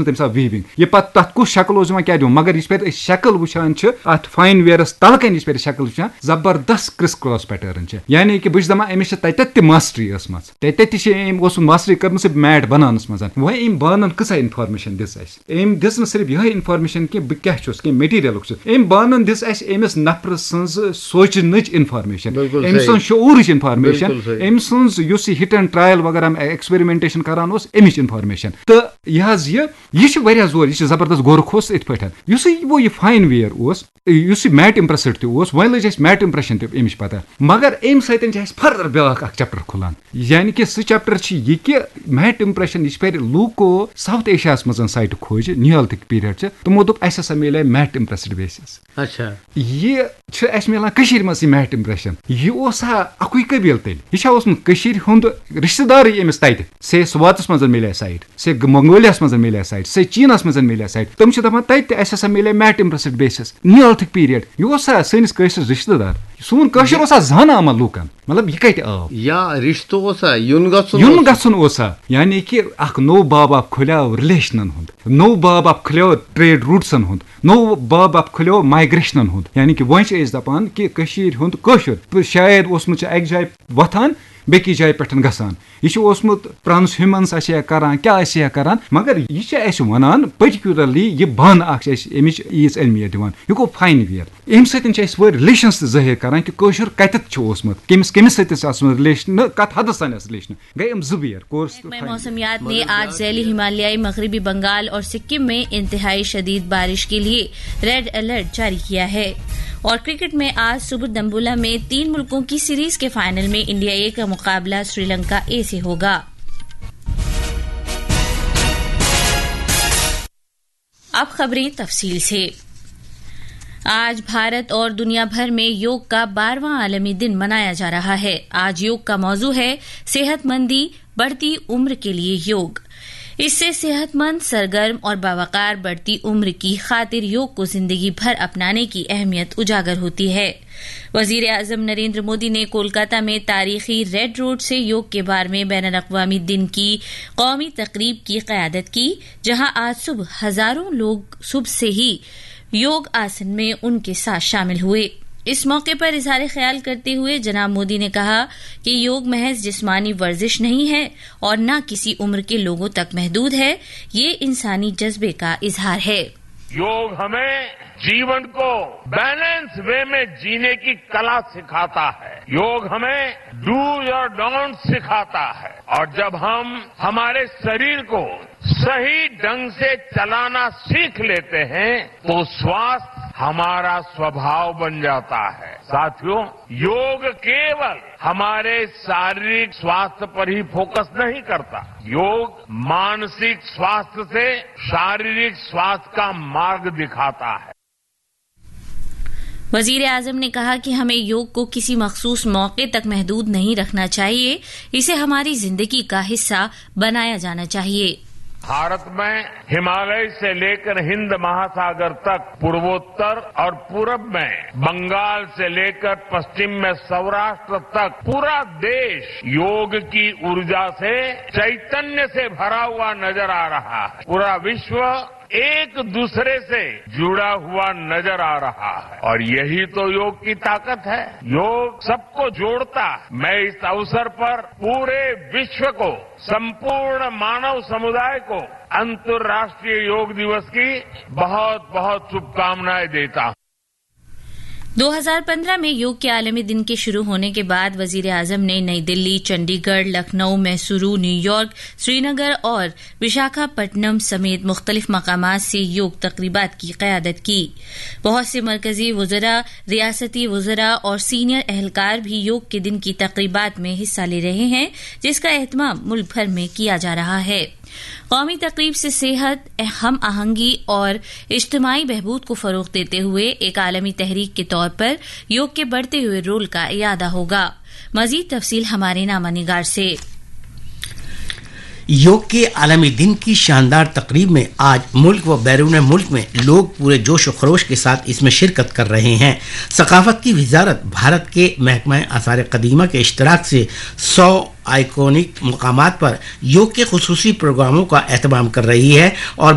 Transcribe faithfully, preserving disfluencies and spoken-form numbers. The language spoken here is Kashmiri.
تٔمِس آو ویٖوِنٛگ۔ یہِ پَتہٕ تَتھ کُس شکل اوس یِوان، کیٛاہ دِوان، مگر یِژھ پھِرِ أسۍ شکل وٕچھان چھِ، اَتھ فاین ویرَس تَلہٕ کَنہِ یِژھ پھِرِ شکل وٕچھان، زبردست کرٛس کراس پیٹٲرٕن چھِ۔ یعنی کہِ بہٕ چھُس دَپان، أمِس چھِ تَتٮ۪تھ تہِ ماسٹری ٲسمٕژ، تَتٮ۪تھ تہِ چھِ أمۍ اوسمُت ماسٹری کٔرمٕژ میٹ بَناونَس منٛز۔ وۄنۍ أمۍ بانَن کۭژاہ اِنفارمیشَن دِژ اَسہِ؟ أمۍ دِژ نہٕ صرف یِہوٚے اِنفارمیشَن کینٛہہ، بہٕ کیٛاہ چھُس، کینٛہہ مٹیٖریَلُک چھُس۔ أمۍ بانَن دِژ اَسہِ أمِس نفرٕ سٕنٛز سونٛچنٕچ اِنفارمیشَن، بِلکُل أمۍ صحیح۔ سٕنٛز شعوٗرٕچ اِنفارمیشَن، بِلکُل صحیح۔ أمۍ سٕنٛز یُس یہِ ہِٹ اینڈ ٹرٛایَل وغیرہ ایکسپیریمنٹیشَن کَران اوس، اَمِچ اِنفارمیشَن۔ تہٕ یہِ حظ یہِ، یہِ چھِ واریاہ زور، یہِ چھِ زبردست غورٕ کھوٚس أتھۍ پٲٹھۍ۔ یُس یہِ وۄنۍ یہِ فاین ویئر اوس، یُس یہِ میٹ امپریسڈ تہِ اوس، وۄنۍ لٔج اَسہِ میٹ امپریشن تہِ اَمِچ پتہ۔ مگر اَمہِ سۭتۍ چھِ اَسہِ فردر بیٛاکھ اکھ چیپٹر کھُلان، یعنی کہِ سُہ چیپٹر چھُ یہِ کہِ میٹ امپریشن، یہِ چھِ پَرِ لوٗکو ساؤتھ ایشیاہَس منٛز سایٹہٕ کھوجہِ، نیولتھک پیریڈ چھِ، تِمو دوٚپ اَسہِ ہسا میلے میٹ امپریسڈ بیسز۔ اچھا۔ یہِ چھُ اَسہِ میلان کٔشیٖرِ منٛز یہِ میٹ امپریشن۔ یہِ اوس ہا اَکُے قبیٖل تیٚلہِ؟ یہِ چھا اوسمُت کٔشیٖرِ ہُنٛد رِشتہٕ دارٕے أمِس تَتہِ؟ سے سواتَس منٛز میلے سایٹ، سے منگولیاہَس منٛز میلے سایٹ، سے چیٖنَس منٛز میلے سایٹ۔ تِم چھِ دَپان تَتہِ تہِ اَسہِ ہسا میلے میٹ امپریسڈ بیسز، نیولتھک پیریڈ۔ یہِ اوس سا سٲنِس کٲشرِس رِشتہٕ دار؟ سون کٲشُر اوس سا زاننہٕ آمُت لوٗکَن؟ مطلب، یہِ کَتہِ آو؟ یا رِشتہٕ اوسا؟ یُن گژھُن یُن اوسا؟ گژھُن اوسا؟ یعنی کہِ اَکھ نوٚو باب اَکھ کھُلیو رِلیشنَن ہُنٛد، نوٚو باب اَکھ کھُلیو ٹریڈ روٗٹسَن ہُنٛد، نوٚو باب اَکھ کھُلیو مایگریشنَن ہُنٛد۔ یعنی کہِ وۄنۍ چھِ أسۍ دَپان کہِ کٔشیٖرِ ہُنٛد کٲشُر، تہٕ شاید اوسمُت چھُ اَکہِ جایہِ وۄتھان، بیٚکِس جایہِ پٮ۪ٹھ گژھان۔ یہِ چھُ اوسمُت ٹرانس ہیومنس آسہِ ہا کران، کیٛاہ آسہِ ہا کران، مگر یہِ چھِ اَسہِ وَنان پٔٹِکیوٗلرلی یہِ بانہٕ اَکھ چھِ اَسہِ اَمِچ ییٖژ اہمیت دِوان۔ یہِ گوٚو فاین ویئر۔ اَمہِ سۭتۍ چھِ اَسہِ وۄنۍ رِلیشنس تہِ ظٲہِر کران کہِ کٲشُر کَتٮ۪تھ چھُ اوسمُت، کٔمِس کٔمِس سۭتۍ چھُ آسمُت رِلیشن، کَتھ حدس تام آسہِ رِلیشن۔ گٔے یِم زٕ ویئر، کورس تہٕ محکمہ فاین ویئر۔ موسمیات نے آج ذیلی ہمالیائی مغربی بنگال اور سکم میں انتہائی شدید بارش کے لیے ریڈ الرٹ جاری کیا ہے۔ اور کرکٹ میں آج صبح دمبولا میں تین ملکوں کی سیریز کے فائنل میں انڈیا اے کا مقابلہ سری لنکا اے سے ہوگا۔ اب خبریں تفصیل سے۔ آج بھارت اور دنیا بھر میں یوگ کا بارہواں عالمی دن منایا جا رہا ہے۔ آج یوگ کا موضوع ہے صحت مندی، بڑھتی عمر کے لیے یوگ۔ اس سے صحت مند، سرگرم اور باوقار بڑھتی عمر کی خاطر یوگ کو زندگی بھر اپنانے کی اہمیت اجاگر ہوتی ہے۔ وزیر اعظم نریندر مودی نے کولکاتہ میں تاریخی ریڈ روڈ سے یوگ کے بارے میں بین الاقوامی دن کی قومی تقریب کی قیادت کی، جہاں آج صبح ہزاروں لوگ صبح سے ہی یوگ آسن میں ان کے ساتھ شامل ہوئے۔ اس موقع پر اظہار خیال کرتے ہوئے جناب مودی نے کہا کہ یوگ محض جسمانی ورزش نہیں ہے اور نہ کسی عمر کے لوگوں تک محدود ہے، یہ انسانی جذبے کا اظہار ہے۔ योग हमें जीवन को बैलेंस वे में जीने की कला सिखाता है। योग हमें डूज और डोंट सिखाता है, और जब हम हमारे शरीर को सही ढंग से चलाना सीख लेते हैं, तो स्वास्थ्य हमारा स्वभाव बन जाता है। साथियों, योग केवल हमारे शारीरिक स्वास्थ्य पर ही फोकस नहीं करता, योग मानसिक स्वास्थ्य से शारीरिक स्वास्थ्य का मार्ग दिखाता है। वजीर आजम ने कहा कि हमें योग को किसी मखसूस मौके तक महदूद नहीं रखना चाहिए, इसे हमारी जिंदगी का हिस्सा बनाया जाना चाहिए। भारत में हिमालय से लेकर हिंद महासागर तक, पूर्वोत्तर और पूरब में बंगाल से लेकर पश्चिम में सौराष्ट्र तक पूरा देश योग की ऊर्जा से, चैतन्य से भरा हुआ नजर आ रहा है। पूरा विश्व एक दूसरे से जुड़ा हुआ नजर आ रहा है, और यही तो योग की ताकत है। योग सबको जोड़ता है। मैं इस अवसर पर पूरे विश्व को, संपूर्ण मानव समुदाय को अंतर्राष्ट्रीय योग दिवस की बहुत बहुत शुभकामनाएं देता हूं। दो हज़ार पन्द्रह में योग के आलमी दिन के शुरू होने के बाद वजीर आजम ने नई दिल्ली, चंडीगढ़, लखनऊ, मैसूरू, न्यूयॉर्क, श्रीनगर और विशाखापट्टनम समेत मुख्तलिफ मकामात से योग तकरीबात की क़यादत की। बहुत से मरकजी वज़रा, रियासती वज़रा और सीनियर अहलकार भी योग के दिन की तकरीबात में हिस्सा ले रहे हैं, जिसका एहतमाम मुल्क भर में किया जा रहा है। कौमी तकरीब से सेहत, हम आहंगी और इज्तमाई बहबूद को फ़रोग देते हुए एक आलमी तहरीक के तौर पर योग के बढ़ते हुए रोल का इयादा होगा। मज़ीद तफसील हमारे नामा निगार से। योग के आलमी दिन की शानदार तकरीब में आज मुल्क व बैरून मुल्क में लोग पूरे जोश व खरोश के साथ इसमें शिरकत कर रहे हैं। सकाफत की वजारत भारत के महकमा आसार कदीमा के इश्तराक से सौ आइकॉनिक मकामात पर योग के खसूसी प्रोग्रामों का एहतमाम कर रही है और